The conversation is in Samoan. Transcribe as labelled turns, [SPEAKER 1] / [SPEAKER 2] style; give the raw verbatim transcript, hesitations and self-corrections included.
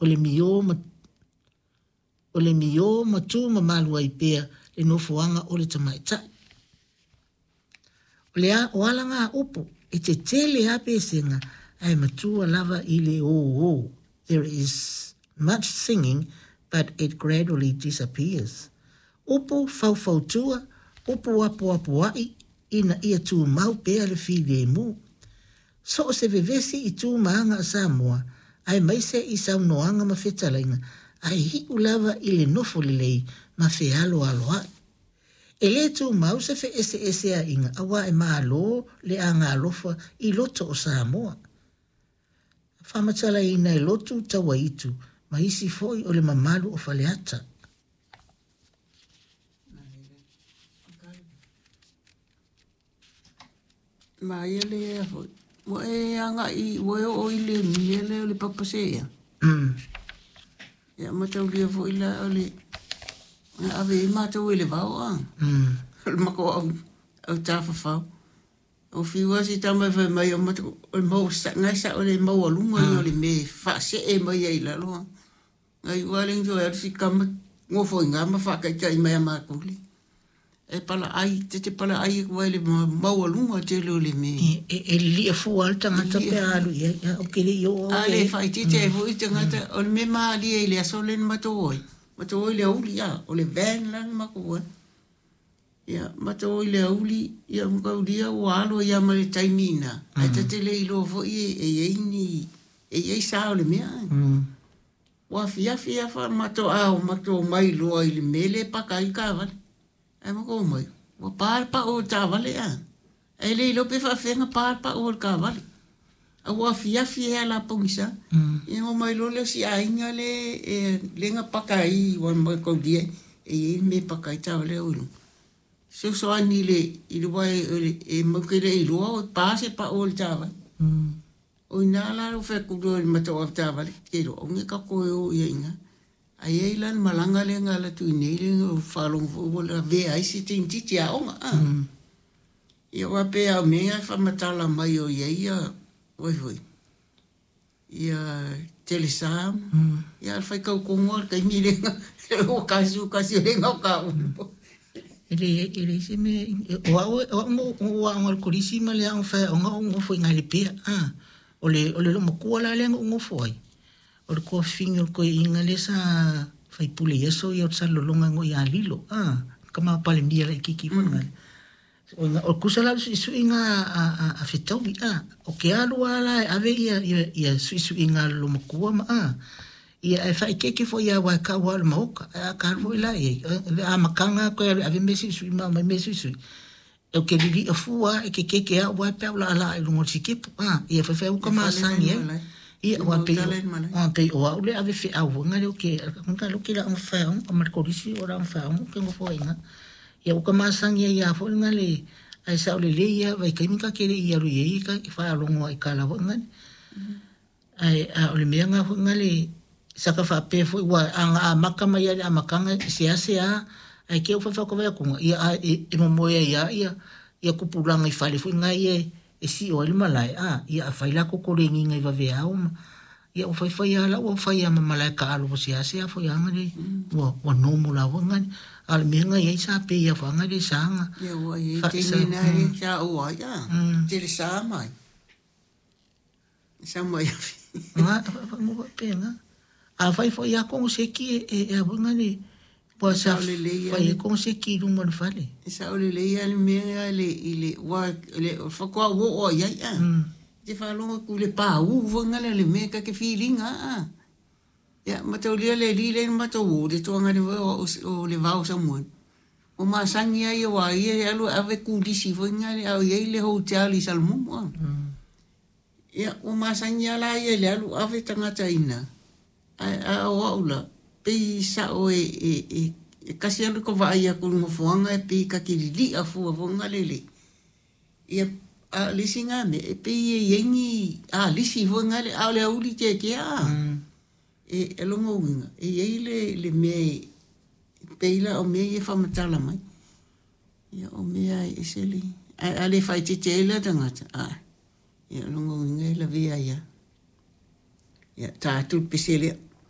[SPEAKER 1] O le miō ma o le miō ma tu mamalu ai pea le nofoaga o le tamaitai. O le a, o ala ngā upu, e tetele a pesega, ae matua lava i le ō. There is much singing, but it gradually disappears. Upu faufautua, upu apoapoai, ina ia tumau pea le filemu. So o se vevesi i tu ma aga a Samoa, aemaise i saunoaga ma fetalaiga, ae iu lava i le nofo lelei ma fealoaloai. E lē tumau se feeseeseaiga auā e malo le agalofa i loto o Samoa. Faamatalaina e Lotu Tauaitu ma isi foi o le mamalu o Faleata.
[SPEAKER 2] Ma ia le foi. Ua e agai ua e oo i le mea lea o le papasea.
[SPEAKER 1] Mm.
[SPEAKER 2] Ia mataulia foi la o le na ave ai matou e le vao a.
[SPEAKER 1] Mm.
[SPEAKER 2] O le matou au au tafafao. O fiu lava si tama e fai mai o matou o le mau sa ngai sao le maualuga ia o le mea e faasee mai ai i lalo a. Nai ua le toe alu si kama gofo i gama faataitai mai a matou le. E palaai te te palaai atu ai le maualuga tele o le mea.
[SPEAKER 1] E, e, e lilia fua le tagata pe a alu i ai. Ou te le i oo
[SPEAKER 2] A le faaitiiti ai foi tagata o le mea malie i le aso lea na matou o ai. Matou o i le aoauli a, o le van la na matou o ai. Ia, matou o i le aoauli, ia mataulia ua alo ai lava ma le taimi i ina, ae ta te le iloa foi e i ai ni, e i ai sa o le mea. Ua afiafi lava matou a matou omai loa i le mea lea e paka ai taavale. Ae matou omai, ua pa le pau o le taavale a. Ae le iloa pe faapefea ona pa le pau o le taavale. A ua afiafi ai lava la pogisa. Ia ona omai loa lea o si aiga lea e lea na paka ai aua mataulia e i ai le mea e paka ai taavale au i luga. Fesoasoani i le i le aua e matou te le iloa o pa se pau o le taavale. O i ina la ua fai atu loa i le matou avetaavale, te iloa aua ne i tatou toe o i ai i ina. Ae i ai la le malaga lea na alu atu i inei lea na ou faalogo foi ua lavea ai si teineitiiti aoga a. Ia aua pei lava o mea ia e faamatala mai o i ai ia oi foi ia telesa ia a o le faitau tonu lava o le taimi lea na ua tasi tasi lea na o taua.
[SPEAKER 1] E leai, e leai se mea o au o au na ou aoga i le kolisi ma le aoga faiaoga o ou nofo i ina i Lepea. Ah, o le o le loomatua la lea na ou nofo ai, o le tuafafine o le toeaina lea sa faipule i aso ia o le Salelologa e igoa ia Lilo. Ah, tama Palemia laitiiti foi lena. O ina o tusa la o le suisuiga a a a fetaui a. O ke alu lava la e ave ia ia ia suisuiga a le loomatua ma a. Ia ae faaeteete foi lava aua e tau lava o le maota. Ae a ta alu foi la i ai, o le amataga toe alu e ave mea suisui ma aumai mea suisui. Ou te lilia fua lava e kekeke au ae pe a ou laalaa i luga o le sikepu. A, ia faifai uka
[SPEAKER 2] Le fale la i
[SPEAKER 1] masani
[SPEAKER 2] le
[SPEAKER 1] ai.
[SPEAKER 2] malae.
[SPEAKER 1] Ia
[SPEAKER 2] Le
[SPEAKER 1] aua pei
[SPEAKER 2] maota
[SPEAKER 1] o
[SPEAKER 2] la i le malae.
[SPEAKER 1] aua pei o au le ave feau foi lea ou te lea ou te i le aoga faiaoga ma le kolisi o le aoga faiaoga ou te nofo ai i ina. Ia ua ka masani ai lava foi lena le ae sao lelei lava vaitaimi ta te le i alu i ai ta te faalogo lava i tala foi na. Ae a o le mea lena foi lena le sa ta faapea foi aua a na amata mai lava i le amataga e seasea ae te i ua faifai atu atu ia a e, e momoe ai lava ia ia tupulaga i fale foi na ia e sio ai le malae a ia afai la totolegiga i vaveao ma ia ua faifai lava la ua fai lava ma malae taalo ua seasea foi lava le ua ua normal lava foi na. A o le mea na i ai sa pei lava foi le sa na
[SPEAKER 2] Ia ua i ai
[SPEAKER 1] fa sa
[SPEAKER 2] taimi na e
[SPEAKER 1] mm,
[SPEAKER 2] sa ou ai a.
[SPEAKER 1] mm.
[SPEAKER 2] Telesa mai. Sa mai
[SPEAKER 1] Nga faapena. Afai foi lava koneseki e e e a foi le ua
[SPEAKER 2] e
[SPEAKER 1] sa
[SPEAKER 2] sao lelei
[SPEAKER 1] fai ai
[SPEAKER 2] lava
[SPEAKER 1] koneseki i luma o le fale.
[SPEAKER 2] e sao lelei lava le mea le i le ua le faatoa ou oo ai ai a.
[SPEAKER 1] Mm.
[SPEAKER 2] Te faalogo atu i le paū foi lea le mea ta te filiga a. Ia mataulia le alii lea na matou o le toaga foi o o le vao Samoani. Ua masani ai aua ia e alu e ave kulisi foi lea a o i ai le hotel i Salamumu a.
[SPEAKER 1] Mm.
[SPEAKER 2] Ia ua masani lava la ia i le alu ave tagata i ina. Ae a o au la pei sao e e e e kasi alu ka vaai atu i le nofoaga e pei ta te lilia fua foi lea le ia a o le isi lena mea e pei e i ai ni alisi foi lea a o le aoauli tiatia a.
[SPEAKER 1] Mm.
[SPEAKER 2] E e lona uiga e i ai le le mea e pei la o mea ia e faamatala mai. Ia o mea e ese le ae a le faaeteete ai la tagata a ia o lona uiga e lavea ai lava. Ia ta atu le pese lea.